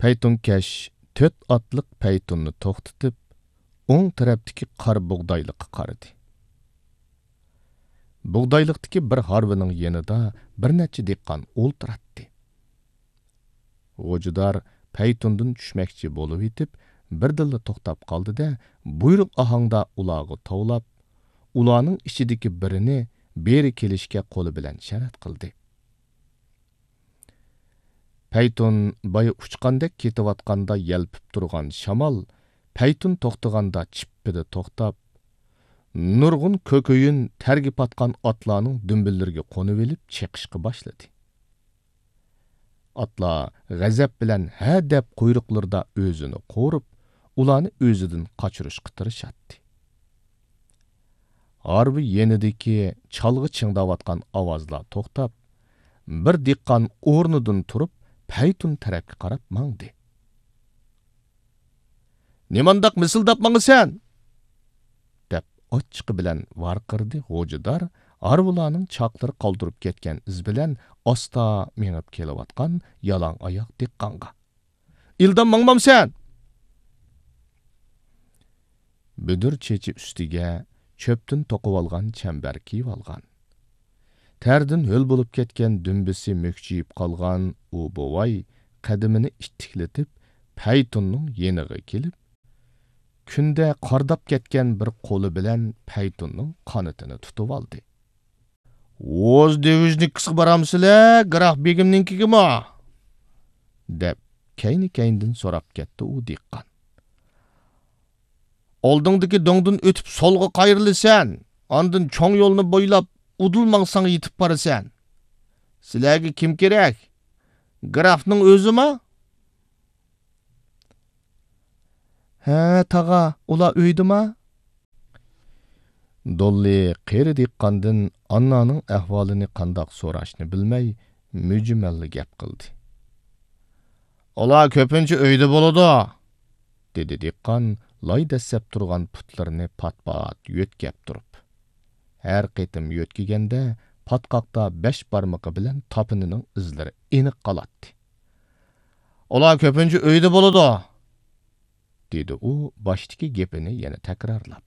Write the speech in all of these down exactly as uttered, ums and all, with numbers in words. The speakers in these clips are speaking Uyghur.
پەيتۇنكەش تۆت ئاتلىق پەيتۇننى توختىتىپ، ئوڭ تەرەپتىكى قارا بۇغدايلىققا قارىدى. بۇغدايلىقتىكى بىر ھارۋىنىڭ يېنىدا بىر نەچچە دېھقان ئولتۇراتتى. غوجىدار پەيتۇندىن چۈشمەكچى بولۇۋېتىپ، بىردىنلا توختاپ قالدى-دە، بۇيرۇق ئاھاڭدا ئۇلارغا توۋلاپ، ئۇلارنىڭ ئىچىدىكى بىرىنى بېرى كېلىشكە قولى بىلەن شەرەت قىلدى. پەيتۇن بايا ئۇچقاندەك كېتىۋاتقاندا يەلپۈپ تۇرغان شامال پەيتۇن توختىغاندا چىپپىدە توختاپ، نۇرغۇن كۆكۈيۈن تەرگە پاتقان ئاتلارنىڭ دۈمبىلىرىگە قونۇۋېلىپ چېقىشقا باشلىدى. ئاتلار غەزەپ بىلەن ھە دەپ قۇيرۇقلىرىدا ئۆزىنى قورۇپ، ئۇلارنى ئۆزىدىن قاچۇرۇشقا تىرىشاتتى. ھارۋا يېنىدىكى چالغا چىڭداۋاتقان ئاۋازلار توختاپ، بىر دېھقان ئورنىدىن تۇرۇپ، پەيتۇن تەرەپكە قاراپ ماڭدى. «نېمانداق مىسىلداپ ماڭىسەن؟» دەپ ئاچچىقى بىلەن ۋارقىرىدى غوجىدار ھارۋىلارنىڭ چاقلىرى قالدۇرۇپ كەتكەن ئىز بىلەن ئاستا مېڭىپ كېلىۋاتقان يالاڭ ئاياق دېھقانغا. «ئىلدام ماڭمامسەن؟» بۈدۈر چېچى ئۈستىگە چۆپتىن توقۇۋالغان چەمبەر كىيىۋالغان. تەردىن ھۆل بولۇپ كەتكەن دۈمبىسى مۈكچىيىپ قالغان ئۇ بوۋاي قەدىمىنى ئىتتىكلىتىپ، پەيتۇننىڭ يېنىغا كېلىپ، كۈندە قارداپ كەتكەن بىر قولى بىلەن پەيتۇننىڭ قانىتىنى تۇتۇۋالدى. «ئوز دېۋىژنىكىسىغا بارامسىلە، گراف بېگىمنىڭكىگىمۇ؟» دەپ، كەينى-كەينىدىن سوراپ كەتتى ئۇ دېھقان. «ئالدىڭدىكى دۆڭدىن ئۆتۈپ سولغا قايرىلىسەن، ئاندىن چوڭ يولنى بويلاپ ئۇدۇل ماڭساڭ يېتىپ بارىسەن. سىلەرگە كىم كېرەك؟ گرافنىڭ ئۆزىما؟» «ھە، تاغا، ئۇلار ئۆيدىما؟» دوللى قېرى دېھقاندىن ئاننانىڭ ئەھۋالىنى قانداق سوراشنى بىلمەي، مۈجمەللا گەپ قىلدى. «ئۇلار كۆپىنچە ئۆيدە بولىدۇ»، دېدى دېھقان لاي دەسسەپ تۇرغان پۇتلىرىنى پات-پات يۆتكەپ تۇرۇپ. ھەر قېتىم يۆتكىگەندە، پاتقاقتا بەش بارمىقى بىلەن تاپىنىنىڭ ئىزلىرى ئېنىق قالاتتى. «ئۇلار كۆپىنچە ئۆيدە بولىدۇ»، دېدى ئۇ باشتىكى گېپىنى يەنە تەكرارلاپ.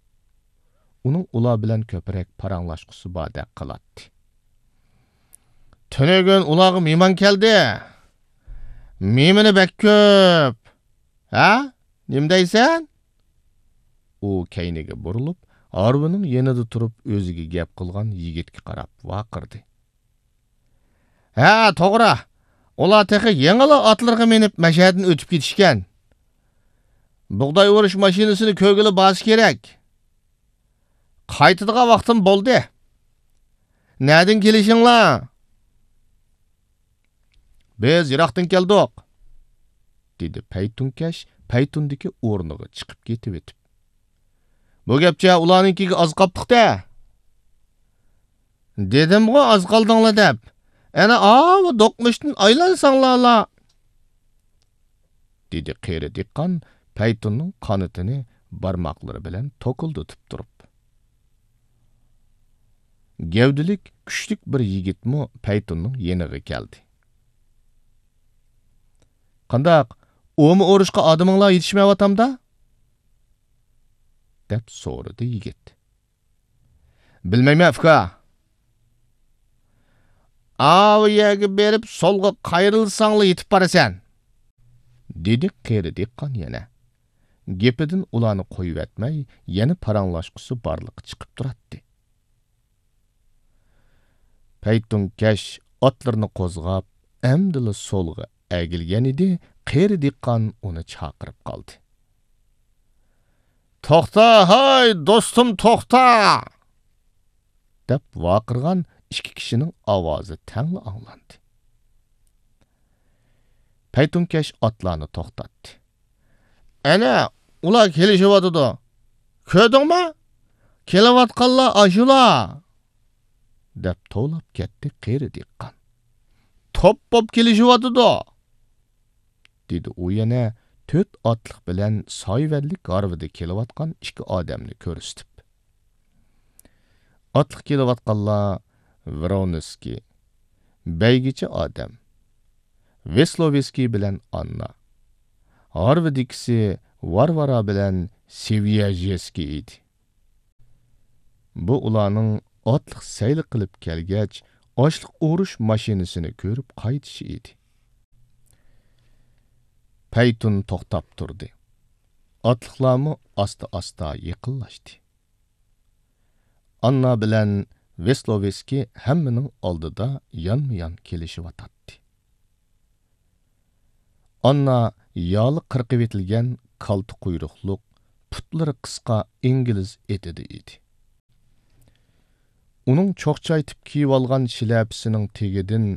ئۇنىڭ ئۇلار بىلەن كۆپرەك پاراڭلاشقۇسى باردەك قىلاتتى. «تۈنۈگۈن ئۇلارغا مېھمان كەلدى. مېھمىنى بەك كۆپ. ھە؟ نېمە دەيسەن؟» ئۇ كەينىگە بۇرۇلۇپ، ھارۋىنىڭ يېنىدا تۇرۇپ ئۆزىگە گەپ قىلغان يىگىتكە قاراپ ۋارقىرىدى. «ھە، توغرا. ئۇلار تېخى يېڭىلا ئاتلىرىغا مىنىپ مەشەدىن ئۆتۈپ كېتىشكەن. بۇغداي ئورۇش ماشىنىسىنى كۆرگىلى بارسا كېرەك. قايتىدىغان ۋاقتىم بولدى. نەدىن كېلىشىڭلار؟» «بىز يىراقتىن كەلدۇق»، دېدى پەيتۇنكەش پەيتۇندىكى ئورنىغا چىقىپ كېتىۋېتىپ. «بۇ گەپچە ئۇلارنىڭكىگە ئاز قاپتۇق-دە.» «دېدىمغۇ ئاز قالدىڭلار دەپ. ئەنە ئاۋۇ دوقمۇشتىن ئايلانساڭلارلا»، دېدى قېرى دېھقان پەيتۇننىڭ قانىتىنى بارماقلىرى بىلەن توكۇلدىتىپ تۇرۇپ. گەۋدىلىك، كۈچلۈك بىر يىگىتمۇ پەيتۇننىڭ يېنىغا كەلدى. «قانداق، ئۇمۇ ئۇرۇشقا ئادىمىڭلار يېتىشمەيۋاتامدا؟» دەپ سورىدى يىگىت. «بىلمەيمەن، ئۇكا.» «ئاۋۇ يەرگە بېرىپ سولغا قايرىلساڭلا يېتىپ بارىسەن.» دېدى قېرى دېھقان يەنە. گېپىدىن ئۇلارنى قويۇۋەتمەي، يەنە پاراڭلاشقۇسى بارلىققا چىقىپ تۇراتتى. پەيتۇنكەش ئاتلىرىنى قوزغاپ، ئەمدىلا سولغا ئەگىلگەن ئىدى، قېرى دېھقان ئۇنى چاقىرىپ قالدى. «توختا، ھاي، دوستۇم، توختا!» دەپ ۋارقىرىغان ئىككى كىشىنىڭ ئاۋازى تەڭلا ئاڭلاندى. پەيتۇنكەش ئاتلارنى توختاتتى. «ئەنە، ئۇلار كېلىشىۋاتىدۇ. كۆردۈڭمۇ؟ كېلىۋاتقانلار ئاشۇلار!» دەپ توۋلاپ كەتتى قېرى دېھقان. «توپ بوپ كېلىشىۋاتىدۇ!» دېدى ئۇ يەنە تۆت ئاتلىق بىلەن سايىۋەنلىك ھارۋىدا كېلىۋاتقان ئىككى ئادەمنى كۆرسىتىپ. ئاتلىق كېلىۋاتقانلار ۋرونسكىي، بەيگىچە ئادەم، ۋېسلوۋسكىي بىلەن ئاننا. ھارۋىدىكىسى ۋارۋارا بىلەن سېۋيەژېسكىي ئىدى. بۇ ئۇلارنىڭ ئاتلىق سەيلە قىلىپ كەلگەچ، ئاشلىق ئورۇش ماشىنىسىنى كۆرۈپ قايتىشى ئىدى. پەيتۇن توختاپ تۇردى. ئاتلىقلارمۇ ئاستا-ئاستا يېقىنلاشتى. ئاننا بىلەن ۋېسلوۋېسكىي ھەممىنىڭ ئالدىدا يانمۇيان كېلىشىۋاتاتتى. ئاننا يالى قىرقىۋېتىلگەن كالتە قۇيرۇقلۇق، پۇتلىرى قىسقا ئىنگلىز ئېتىدە ئىدى. ئۇنىڭ چوقچايتىپ كىيىۋالغان شىلەپىسىنىڭ تېگىدىن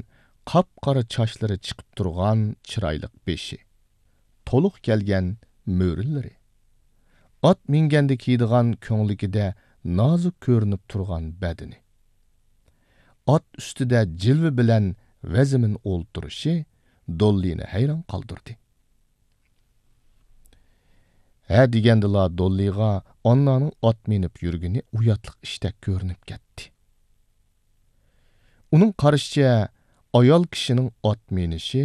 قاپقارا چاچلىرى چىقىپ تۇرغان چىرايلىق بېشى، تولۇق كەلگەن مۈرىلىرى، ئات مىنگەندە كىيىدىغان كۆڭلىكىدە نازۇك كۆرۈنۈپ تۇرغان بەدىنى، ئات ئۈستىدە جىلۋە بىلەن ۋەزمىن ئولتۇرۇشى دوللىنى ھەيران قالدۇردى. ھە دېگەندىلا دوللىغا ئاننانىڭ ئات مىنىپ يۈرگىنى ئۇياتلىق ئىشتەك كۆرۈنۈپ كەتتى. ئۇنىڭ قارىشىچە، ئايال كىشىنىڭ ئات مىنىشى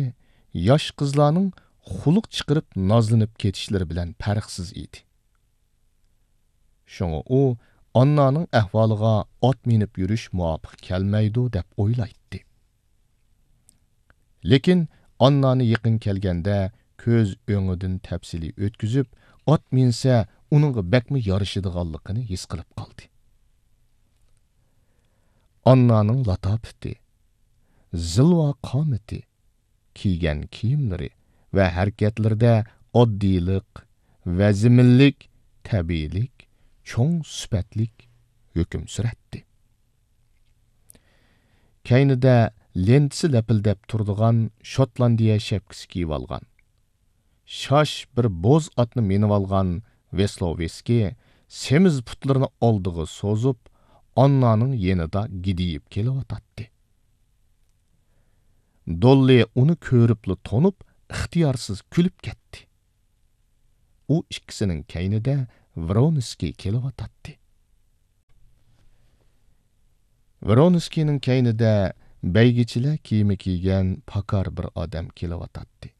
ياش قىزلارنىڭ خۇلۇق چىقىرىپ نازلىنىپ كېتىشلىرى بىلەن پەرقسىز ئىدى. شۇڭا ئۇ ئاننانىڭ ئەھۋالىغا ئات مىنىپ يۈرۈش مۇۋاپىق كەلمەيدۇ دەپ ئويلايتتى. لېكىن ئاننانى يېقىن كەلگەندە كۆز ئۆڭىدىن تەپسىلىي ئۆتكۈزۈپ، ئات مىنسە ئۇنىڭغا بەكمۇ يارىشىدىغانلىقىنى ھېس قىلىپ قالدى. ئاننانىڭ لاتاپىتى، زىلۋا قامىتى، كىيگەن كىيىملىرى ۋە ھەرىكەتلىرىدە ئاددىيلىق، ۋەزمىنلىك، تەبىئىيلىك، چوڭ سۈپەتلىك ھۆكۈم سۈرەتتى. كەينىدە لېنتىسى لەپىلدەپ تۇرىدىغان شوتلاندىيە شەپكىسى كىيىۋالغان، شاش بىر بوز ئاتنى مىنىۋالغان ۋېسلوۋېسكىي سېمىز پۇتلىرىنى ئالدىغا سوزۇپ، ئاننانىڭ يېنىدا گىدىيىپ كېلىۋاتاتتى. دوللى ئۇنى كۆرۈپلا تونۇپ، ئىختىيارسىز كۈلۈپ كەتتى. ئۇ ئىككىسىنىڭ كەينىدە ۋرونسكىي كېلىۋاتاتتى. ۋرونسكىينىڭ كەينىدە بەيگىچىلەر كىيىمى كىيگەن پاكار بىر ئادەم كېلىۋاتاتتى.